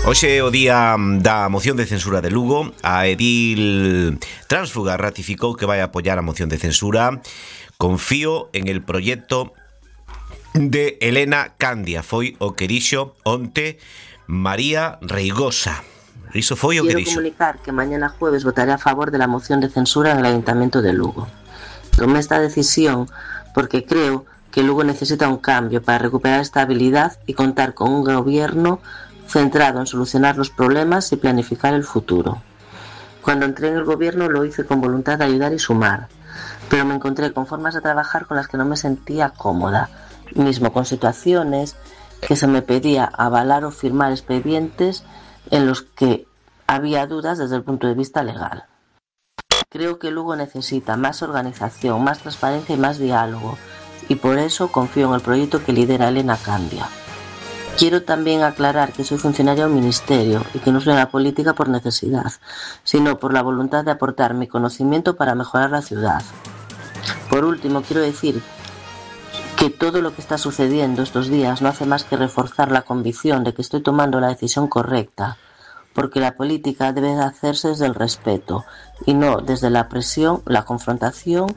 Hoxe é o día da moción de censura de Lugo. A edil tránsfuga ratificou que vai apoiar a moción de censura. Confío en el proyecto de Elena Candia. Foi o que dixo onte María Reigosa. Iso foi o que dixo. Quiero comunicar que mañana jueves votaré a favor de la moción de censura en el Ayuntamiento de Lugo. Tomé esta decisión porque creo que Lugo necesita un cambio para recuperar estabilidad y contar con un gobierno centrado en solucionar los problemas y planificar el futuro. Cuando entré en el gobierno lo hice con voluntad de ayudar y sumar, pero me encontré con formas de trabajar con las que no me sentía cómoda, mismo con situaciones que se me pedía avalar o firmar expedientes en los que había dudas desde el punto de vista legal. Creo que Lugo necesita más organización, más transparencia y más diálogo, y por eso confío en el proyecto que lidera Elena Candia. Quiero también aclarar que soy funcionaria del Ministerio y que no soy en la política por necesidad, sino por la voluntad de aportar mi conocimiento para mejorar la ciudad. Por último, quiero decir que todo lo que está sucediendo estos días no hace más que reforzar la convicción de que estoy tomando la decisión correcta, porque la política debe de hacerse desde el respeto y no desde la presión, la confrontación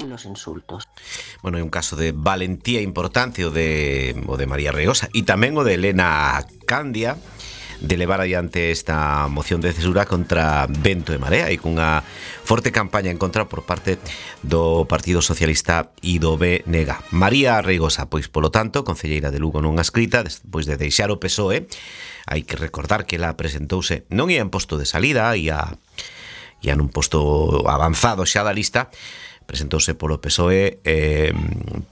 y los insultos. Bueno, é un caso de valentía importante o de María Reigosa e tamén o de Elena Candia de levar adiante esta moción de censura contra vento e marea e cunha forte campaña en contra por parte do Partido Socialista e do BNG. María Reigosa, pois, polo tanto, concelleira de Lugo nunha escrita, despois de deixar o PSOE, hai que recordar que ela presentouse, non ia en posto de salida, ia nun posto avanzado xa da lista, presentouse polo PSOE,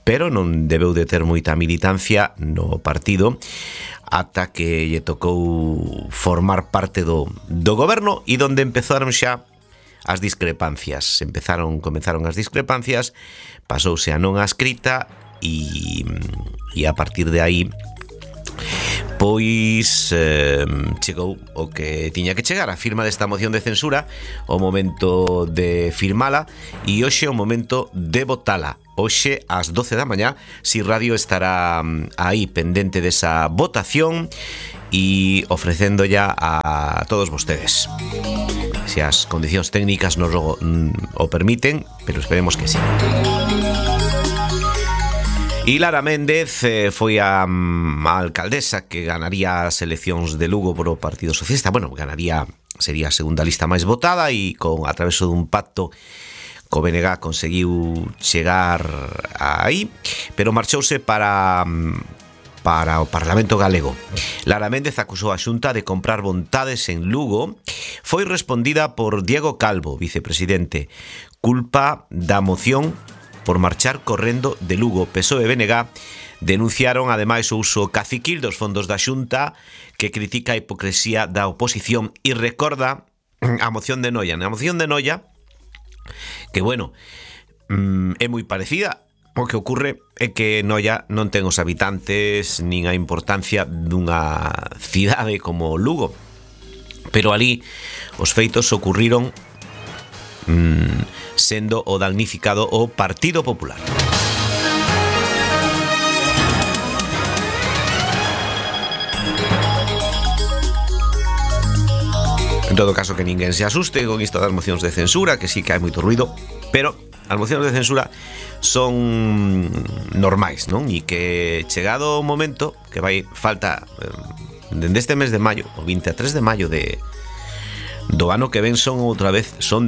pero non debeu de ter moita militancia no partido ata que lle tocou formar parte do goberno e donde empezaron xa as discrepancias. Comenzaron as discrepancias, pasouse a non a escrita e a partir de aí pois chegou o que tiña que chegar, a firma desta moción de censura, o momento de firmala e hoxe o momento de votala. Hoxe ás 12 da mañá, Si Radio estará aí pendente desa votación e ofrecendo ya a todos vostedes. Se as condicións técnicas nos o permiten, pero esperemos que sí. E Lara Méndez foi a alcaldesa que ganaría as eleccións de Lugo por o Partido Socialista. Bueno, sería a segunda lista máis votada e a través dun pacto co BNG conseguiu chegar aí, pero marchouse para o Parlamento galego. Lara Méndez acusou a Xunta de comprar vontades en Lugo. Foi respondida por Diego Calvo, vicepresidente. Culpa da moción por marchar correndo de Lugo. PSOE e BNG denunciaron ademais o uso caciquil dos fondos da Xunta, que critica a hipocresía da oposición e recorda a moción de Noia. A moción de Noia, que bueno, é moi parecida. O que ocurre é que Noia non ten os habitantes nin a importancia dunha cidade como Lugo, pero ali os feitos ocurriron sendo o damnificado o Partido Popular. En todo caso, que ninguén se asuste con isto das mocións de censura, que sí que hai moito ruido, pero as mocións de censura son normais, non? E que chegado o momento que falta dende este mes de maio, o 23 de maio do ano que ven son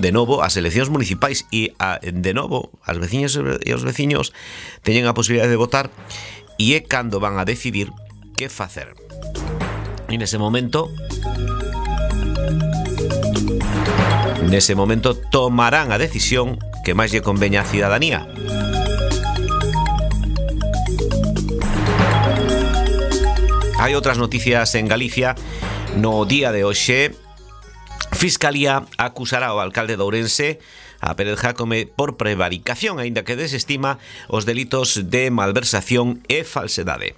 de novo as eleccións municipais e de novo as veciñas e os veciños teñen a posibilidade de votar e é cando van a decidir que facer. E nese momento tomarán a decisión que máis lle conveña á cidadanía. Hai outras noticias en Galicia. No día de hoxe, Fiscalía acusará ao alcalde de Ourense, a Pérez Jácome, por prevaricación, aínda que desestima os delitos de malversación e falsedade.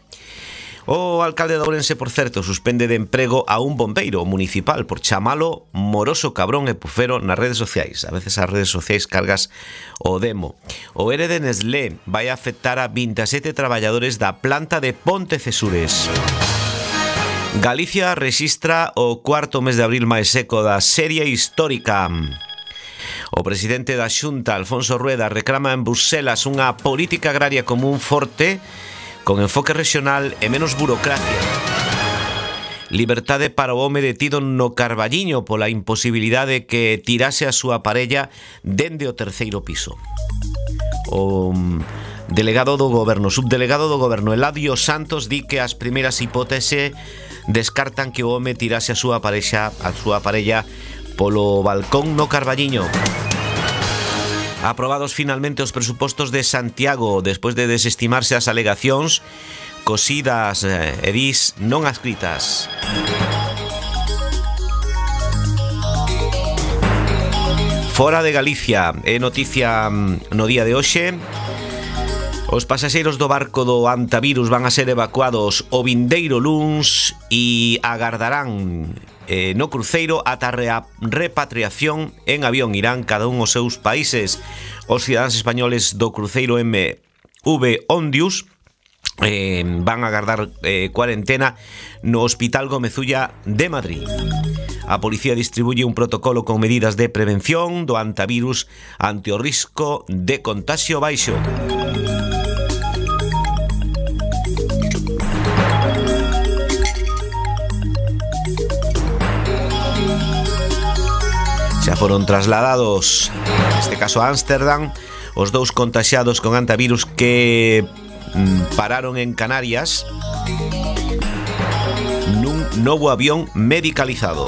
O alcalde de Ourense, por certo, suspende de emprego a un bombeiro municipal por chamalo moroso, cabrón e pufero nas redes sociais. A veces as redes sociais cargas o demo. O ERE de Nestlé vai afectar a 27 traballadores da planta de Pontecesures. Galicia rexistra o cuarto mes de abril máis seco da serie histórica. O presidente da Xunta, Alfonso Rueda, reclama en Bruselas unha política agraria común forte, con enfoque regional e menos burocracia. Libertade para o home detido no Carballiño pola imposibilidade que tirase a súa parella dende o terceiro piso. O subdelegado do goberno Eladio Santos di que as primeiras hipóteses descartan que o home tirase a súa parella polo balcón no Carballiño. Aprobados finalmente os presupostos de Santiago despois de desestimarse as alegacións cosidas edís non adscritas. Fora de Galicia, é noticia no día de hoxe. Os pasaxeiros do barco do Antavirus van a ser evacuados o vindeiro luns e agardarán no cruceiro ata a repatriación en avión. Irán cada un aos seus países. Os cidadáns españoles do cruceiro MV Ondius van a agardar cuarentena no Hospital Gomezulla de Madrid. A policía distribuye un protocolo con medidas de prevención do antivirus ante o risco de contagio baixo. Xa foron trasladados, neste caso a Ámsterdam, os dous contaxiados con antivirus que pararon en Canarias nun novo avión medicalizado.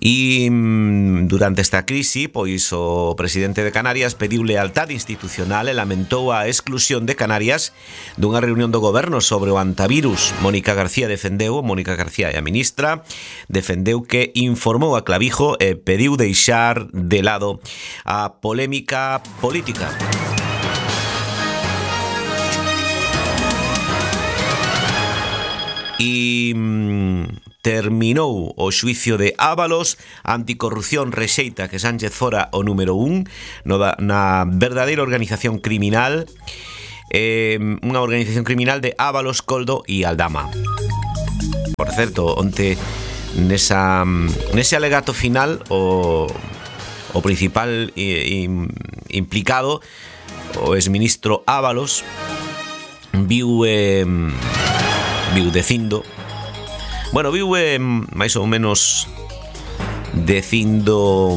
E durante esta crise, pois o presidente de Canarias pediu lealtade institucional e lamentou a exclusión de Canarias dunha reunión do goberno sobre o antivirus. Mónica García e a ministra, defendeu que informou a Clavijo e pediu deixar de lado a polémica política. E terminou o xuicio de Ábalos. Anticorrupción rexeita que Sánchez fora o número 1 na verdadeira organización criminal, unha organización criminal de Ábalos, Coldo e Aldama. Por certo, onte nese alegato final o principal implicado, o exministro Ábalos, viu máis ou menos dicindo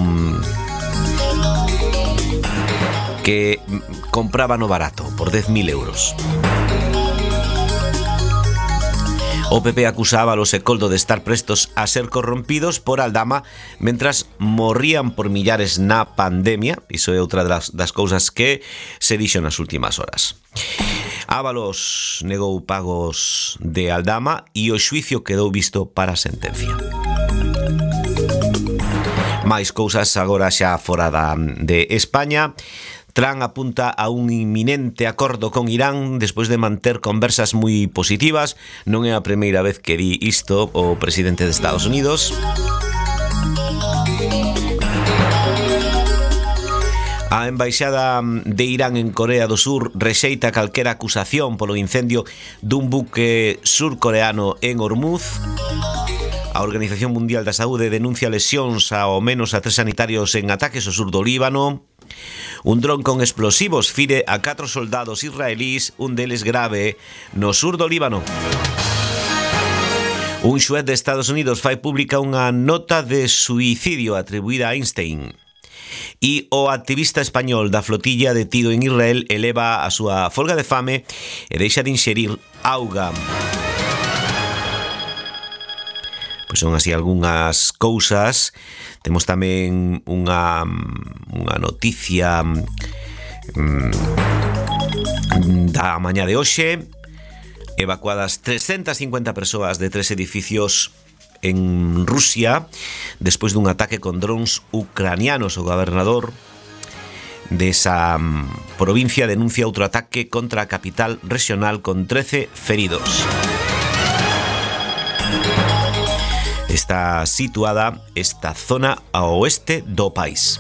que compraba no barato por 10.000 euros. O PP acusa a Ábalos e Coldo de estar prestos a ser corrompidos por Aldama mentras morrían por millares na pandemia. Iso é outra das cousas que se dixo nas últimas horas. Ábalos negou pagos de Aldama e o xuicio quedou visto para a sentencia. máis cousas agora xa fora de España. Trump apunta a un inminente acordo con Irán despois de manter conversas moi positivas. Non é a primeira vez que di isto o presidente de Estados Unidos. A embaixada de Irán en Corea do Sur rexeita calquera acusación polo incendio dun buque surcoreano en Hormuz. A Organización Mundial da Saúde denuncia lesións ao menos a 3 sanitarios en ataques ao sur do Líbano. Un dron con explosivos fire a 4 soldados israelís, un deles grave, no sur do Líbano. Un xuez de Estados Unidos fai pública unha nota de suicidio atribuída a Einstein. E o activista español da flotilla detido en Israel eleva a súa folga de fame e deixa de inxerir auga. Pois son así algunhas cousas. Temos tamén unha noticia da mañá de hoxe. Evacuadas 350 persoas de 3 edificios en Rusia despois dun ataque con drons ucranianos. O gobernador desa provincia denuncia outro ataque contra a capital regional con 13 feridos. Está situada esta zona ao oeste do país.